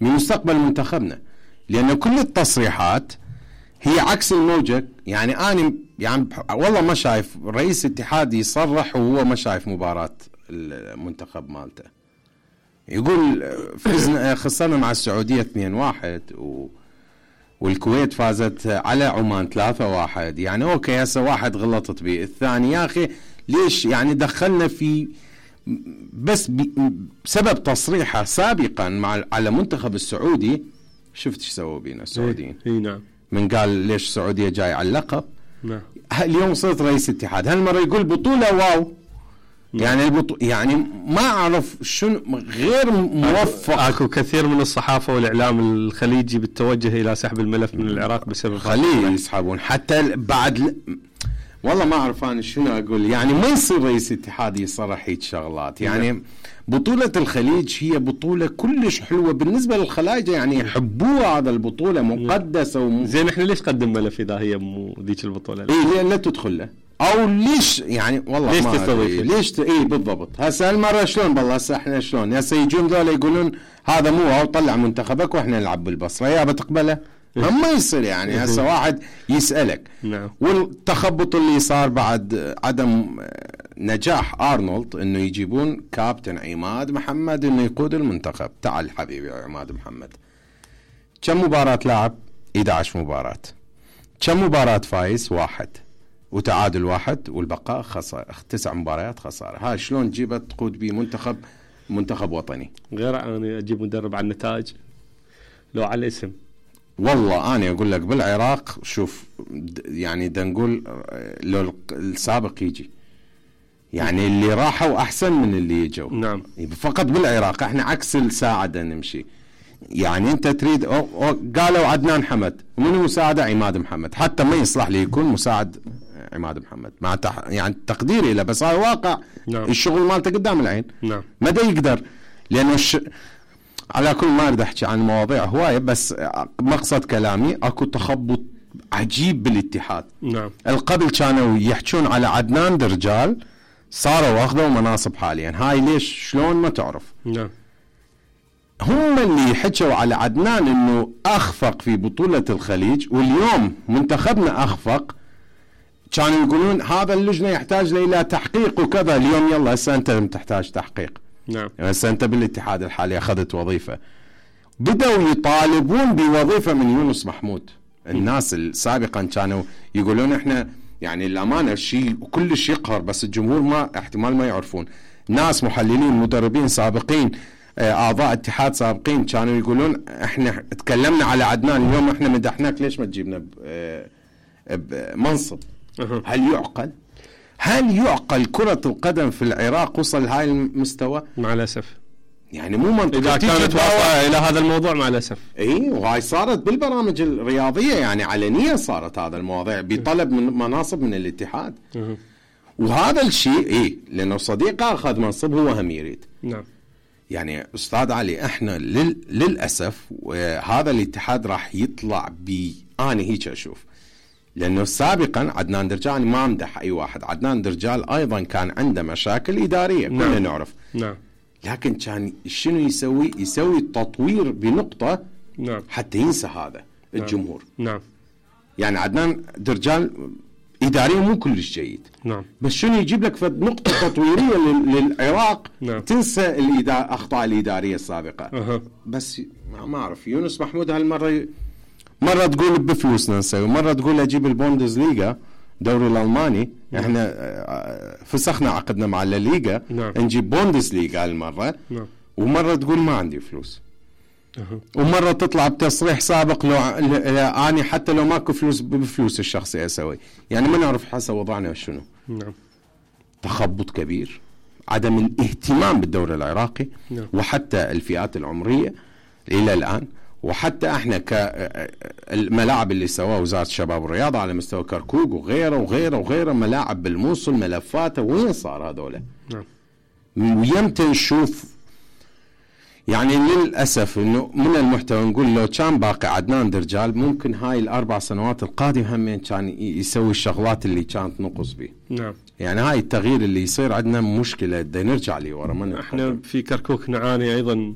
من مستقبل منتخبنا، لأن كل التصريحات هي عكس الموجة. يعني أنا يعني والله ما شايف رئيس اتحاد يصرح وهو ما شايف مباراة المنتخب مالته. يقول فزنا خسرنا مع السعودية 2-1 والكويت فازت على عمان 3-1. يعني أوكي هسه واحد غلطت به، الثاني يا أخي ليش يعني دخلنا في بس بسبب تصريحه سابقا على منتخب السعودي. شفت ايش سووا بينا السعوديين؟ نعم. من قال ليش السعودية جاي على اللقب. نعم. اليوم صرت رئيس اتحاد، هالمرة يقول بطولة واو. يعني يعني ما أعرف شنو غير موفق. اكو كثير من الصحافة والإعلام الخليجي بالتوجه إلى سحب الملف من العراق بسبب خليه يسحبون حتى بعد والله ما أعرف أنا شنو أقول. يعني ما يصير رئيس اتحاد يصرح هيك شغلات. يعني بطولة الخليج هي بطولة كلش حلوة بالنسبة للخلايجة، يعني يحبوها. هذا البطولة مقدسة زين احنا ليش قدم ملف إذا هي مو ذيك البطولة؟ إيه لا تدخل له او ليش يعني والله ليش ما تستضيف؟ ليش ايه بالضبط. هسه المره شلون بالله هسه احنا شلون هسه يجون ذولا يقولون هذا مو او طلع منتخبك واحنا نلعب بالبصره، يا بتقبله؟ ما يصير. يعني هسه واحد يسالك. نعم. والتخبط اللي صار بعد عدم نجاح ارنولد انه يجيبون كابتن عماد محمد انه يقود المنتخب. تعال حبيبي عماد محمد، كم مباراه لاعب؟ 11 مباراه. كم مباراه فايز؟ 1 وتعادل 1 والبقاء خسارة. 9 مباريات خسارة. هاي شلون تجيبها تقود بيه منتخب وطني؟ غير أنا أجيب مدرب على النتائج لو على الاسم. والله أنا أقول لك بالعراق شوف يعني دا نقول لو السابق يجي يعني اللي راحوا أحسن من اللي يجوا. نعم. فقط بالعراق احنا عكس الساعة دا نمشي. يعني انت تريد قالوا عدنان حمد ومن مساعده عماد محمد، حتى ما يصلح لي يكون مساعد عماد محمد مع يعني تقديري له، بس هذا واقع. نعم. الشغل مالته قدام العين. نعم. ما دا يقدر لانه على كل ما اريد احكي عن مواضيع هوايه، بس مقصد كلامي اكو تخبط عجيب بالاتحاد. نعم. القبل كانوا يحكون على عدنان درجال، صاروا واخذوا مناصب حاليا. هاي ليش شلون ما تعرف. نعم. هم اللي حكوا على عدنان انه اخفق في بطولة الخليج، واليوم منتخبنا اخفق. كانوا يقولون هذا اللجنة يحتاج الى تحقيق وكذا. اليوم يلا هسه انت لم تحتاج تحقيق. نعم. هسه انت بالاتحاد الحالي اخذت وظيفة. بدأوا يطالبون بوظيفة من يونس محمود. الناس سابقا كانوا يقولون احنا يعني الامانة شيء كلش يقهر، بس الجمهور ما احتمال ما يعرفون. ناس محللين مدربين سابقين اعضاء اتحاد سابقين كانوا يقولون احنا تكلمنا على عدنان اليوم احنا مدحناك ليش ما تجيبنا بمنصب. هل يعقل كرة القدم في العراق وصل لهاي المستوى؟ مع الاسف يعني مو منطقي. اذا كانت واقعة الى هذا الموضوع مع الاسف. اي وهاي صارت بالبرامج الرياضية، يعني علنية صارت هذا المواضيع بطلب من مناصب من الاتحاد. وهذا الشيء لانه صديقه اخذ منصب هو هم يريد. نعم. يعني أستاذ علي احنا للأسف هذا الاتحاد راح يطلع أنا هيك أشوف. لأنه سابقا عدنان درجال ما امدح أي واحد، عدنان درجال أيضا كان عنده مشاكل إدارية. نعم. كلنا نعرف. نعم. لكن كان شنو يسوي تطوير بنقطة. نعم. حتى ينسى هذا الجمهور. نعم. يعني عدنان درجال إداريا مو كلش جيد. نعم. بس شنو يجيب لك نقطة تطويرية للعراق. نعم. تنسى أخطاء الإدارية السابقة. بس ما أعرف يونس محمود هالمرة مرة تقول بفلوسنا نسوي، مرة تقول أجيب البوندز ليغا دوري الألماني. نعم. احنا فسخنا عقدنا مع الليغا. نعم. نجيب بوندز ليغا هالمرة. نعم. ومرة تقول ما عندي فلوس. ومرة تطلع بتصريح سابق لو أنا حتى لو ماكو فلوس بفلوس الشخصي أسوي. يعني ما نعرف حسب وضعنا شنو. نعم. تخبط كبير، عدم الاهتمام بالدوري العراقي. نعم. وحتى الفئات العمرية إلى الآن، وحتى احنا كالملاعب اللي سواها وزارة الشباب والرياضة على مستوى كركوك وغيره ملاعب بالموصل ملفاته وين صار هذولا. نعم. ويمتى نشوف يعني للأسف إنه من المحتوى نقول لو كان باقي عدنان درجال ممكن هاي ال4 سنوات القادمة همين كان يسوي الشغلات اللي كانت نقص به. نعم. يعني هاي التغيير اللي يصير عندنا مشكلة، دا نرجع لي ورا. احنا في كركوك نعاني أيضا